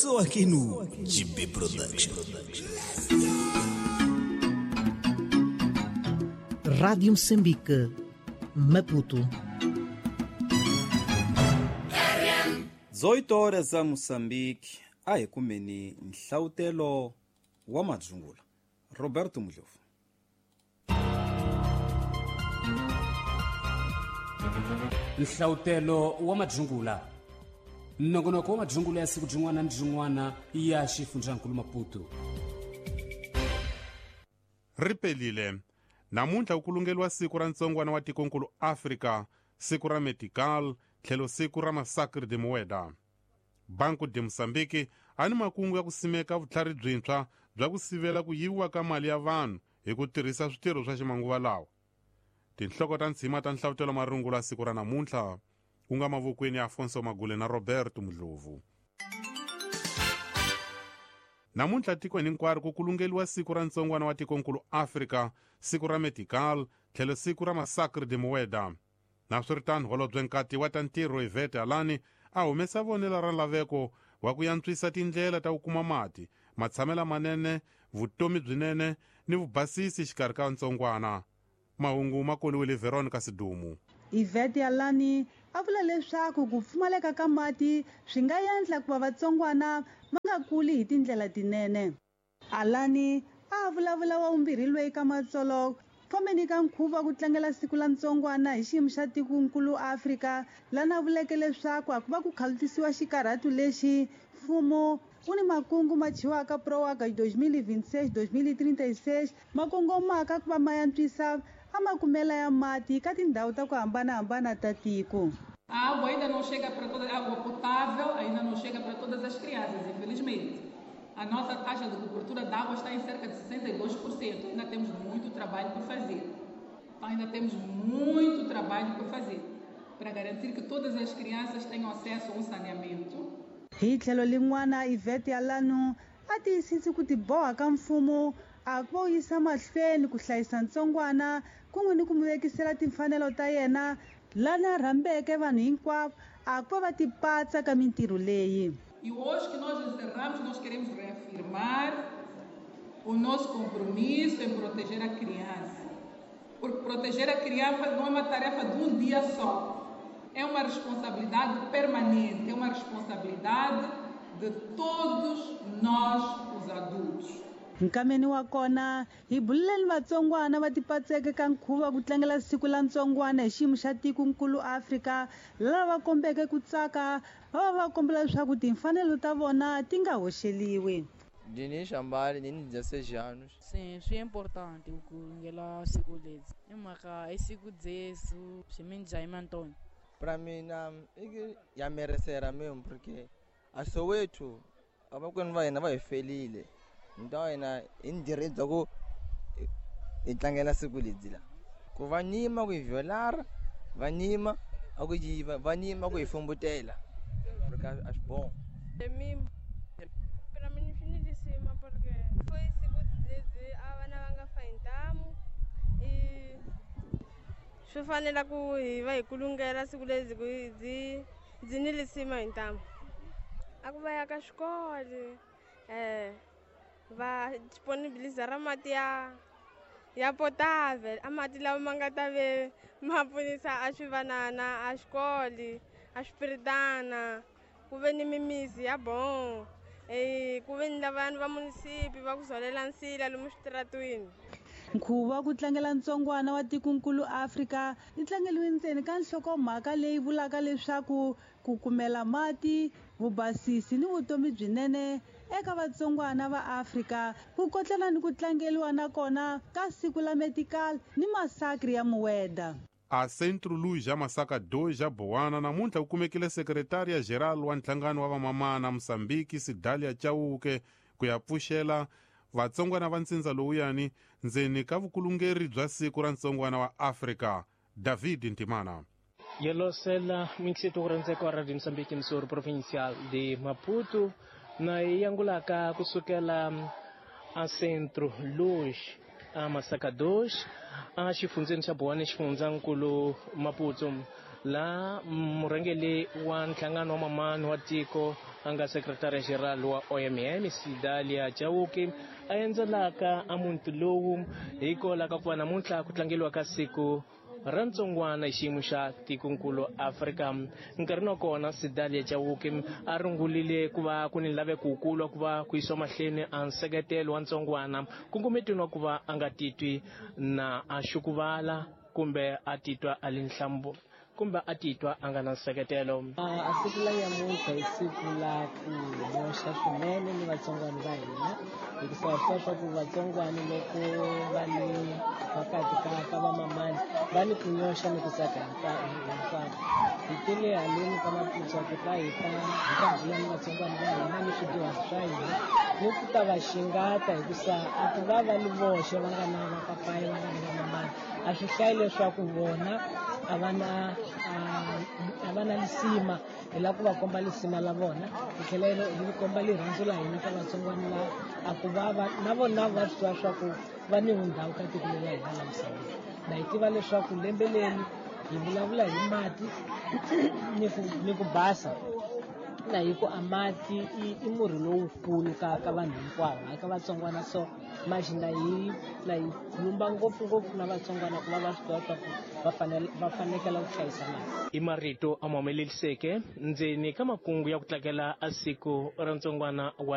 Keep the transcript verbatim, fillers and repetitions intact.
Só aqui no G B Production. Rádio Moçambique, Maputo. dezoito horas a Moçambique, a hi kumeni nhlawutelo wa madzungula. Roberto Mudlovu. Nhlawutelo wa madzungula. Nongonoko wa madzungula ya siku byin'wana ni byin'wana ya xifundzankulu Maputo. Ripelile. Namuntlha ku kulungeliwa siku ra ntsongwana wa tikonkulu Afrika, siku ra Medical, tlhelo siku ra Massacre de Mueda. Banco de Moçambique a ni makungu ya ku simeka vutlhari byintshwa bya ku sivela ku yiviwa ka mali ya vanhu hi ku tirhisa switirho swa ximanguva lawa. Tinhloko ta ntshima ta nhlavutelo marungula siku ra namuntlha ku nga mavokweni ya Afonso Magule na Roberto Mudlovu. Namuntlha tikweni hinkwaro ku kulungeliwa siku ra ntsongwana wa tikonkulu Afrika, siku ra Medical, tlhelo siku ra Massacre de Mueda. Naswiritano, holobye nkati wa ta ntirho Ivete Alani a humesa vonelo ra laveko wa ku yantswisa tindlela ta ku kuma mati, matshamelo manene, vutomi byinene ni vubasisi xikarhi ka ntsongwana. Mahungu ma koliwile Veronica Sidumu. Ivete Alani a vula leswaku ku pfumaleka ka mati swi nga endla ku va vatsongwana va nga kuli hi tindlela tinene. Alani a vulavula wa vumbirhi loyi ka matsolo fambeni ka nkhuvo ku tlangela siku la ntsongwana hi xiyimo xa tikonkulu Afrika, lana vuleke leswaku a ku va ku khalutisiwa xikarhatu lexi mfumo wu ni makungu ma chiwaka PROAGA dois mil e vinte e seis dois mil e trinta e seis ma kongomaka ku va ma yantswisa a makumela ya mati ka tindhawu ta ku hambanahambana ta tiko. A água ainda não chega para toda, a água potável ainda não chega para todas as crianças, infelizmente. A nossa taxa de cobertura de água está em cerca de sessenta e dois por cento. Ainda temos muito trabalho por fazer. Então, ainda temos muito trabalho por fazer para garantir que todas as crianças tenham acesso a um saneamento. Hi tlhelo lin'wana Ivete Alano a tiyisisi ku tiboha ka mfumo a ku va yisa mahlweni ku hlayisa ntsongwana kun'we ni ku mu vekisela timfanelo ta yena lana rhambeke vanhu hinkwavo a ku va va tipatsa ka mintirho leyi. E hoje que nós encerramos, nós queremos reafirmar o nosso compromisso em proteger a criança. Porque proteger a criança não é uma tarefa de um dia só. É uma responsabilidade permanente, é uma responsabilidade de todos nós, os adultos. Nkameni wa kona hi buleleni vatsongwana va tipatseke ka nkhuvo ku tlangela siku la ntsongwana hi xiyimo xa tikonkulu Afrika, lava va kombeke ku tsaka va va va kombela leswaku timfanelo ta vona ti nga hoxeliwi. Dini Shambali, ndini dezesseis anos. Sim, swi importante ku kulungela siku ledzi. I mhaka i siku dzesu swiminjhani Antônio. Para mina ya merecera mesmo porque a Soweto abakwenu va hina va hi felile. Então hina hi ni direito bya ku hi tlangela siku ledzi la. Ku va nyima ku hi violar, va nyima a ku yiva, va nyima ku hi fumbutela. Porque a swi bom. Para mim finalíssima porque foi siku dzedzi a vana va nga fa hi ntamu i swi fanela ku hi va hi kulungela siku ledzi ku byi byi ni lisima hi ntamu. A ku va ya ka xikolo eh va disponibiliza ra mati ya ya potável, a mati lawa ma nga ta ve ma pfunisa a swivanana a xikolo a swipiritana ku ve ni mimisi ya bon eh ku ve ni lavanhu va munisipi va ku zolela nsila lomu switaratwini. Nkhuvo wa ku tlangela ntsongwana wa tikonkulu Afrika yi tlangeliwe ntsena ka nhlokomhaka leyi vulaka leswaku ku kumela mati, vubasisi ni vutomi byinene eka vatsongwana va Afrika, ku kotlana ni ku tlangeliwa nakona ka siku la Medical ni Massacre ya Mueda. A Centro Luz ya Masaka dois ya Bowana namuntlha ku kumekile sekretariya geral wa nhlangano wa vamamana Moçambique Sidalia Chauke ku ya pfuxela vatsongwana va ntsindza lowuyani ndzeni ka vukulungeri bya siku ra ntsongwana wa Afrika. David Ntimana. Yelosela minxito ku wa Radio Moçambique emissora provincial de Maputo na yangulaka kusukela a Centro Luz a Masaka dois a xifundzeni xa Bowana xifundzankulu Maputo. La murhangeri wa nhlangano wa mamani wa tiko a nga sekretari general wa O M M Sidalia Chauke a endzelaka a muti lowu hikwalaho ka ku va namuntlha ku tlangeriwa ka siku ra ntsongwana hi xiyimo xa tikonkulu Afrika. Nkarhini wa kona Sidalia Chauke a rungulile ku va ku ni laveko wukulu wa ku va ku yisiwa mahlweni a nseketelo wa ntsongwana nkongometweni wa ku va a nga titwi na a xukuvala kumbe a titwa a li nhlambu kumbe a titwa a nga na nseketelo. A siku la nyamuntlha i siku la ku nyoxa swinene ni vatsongwana va hina, hikuva swi tiva swa ku vatsongwana loko va li phakathi ka ka vamamani va ni ku nyoxa ni ku tsaka hinkwako. Hi tele haleni ka Maputo ku ta hi ta hi ta bula ni vatsongwana va hina ni swidyuhari swa hina ni ku ta va xingata, hikusa a ku va va li voxe va nga na vapapayi va nga na vamamani, a swi hlayi leswaku vona a va na a va na lisima. Hi lava ku va komba lisima la vona, hi tlhela hi komba rirhandzu la hina ka vatsongwana la a ku va va na vona va swi tiva swa ku va ni ndhawu ka tiko leri la hina la Mozambique. Na hi tiva leswaku lembe leri hi vulavula hi mati ni ku ni ku basa, na hi ku a mati i i murhi lowukulu ka ka vanhu hinkwavo, hayi ka vatsongwana. So manje na hi na hi khulumba ngopfungopfu na vatsongwana ku va va swi tiva swa ku va fanele va fanekela ku hlayisa mati. I marito a ma humeleliseke ndzeni ka makungu ya ku tlangela a siku ra ntsongwana wa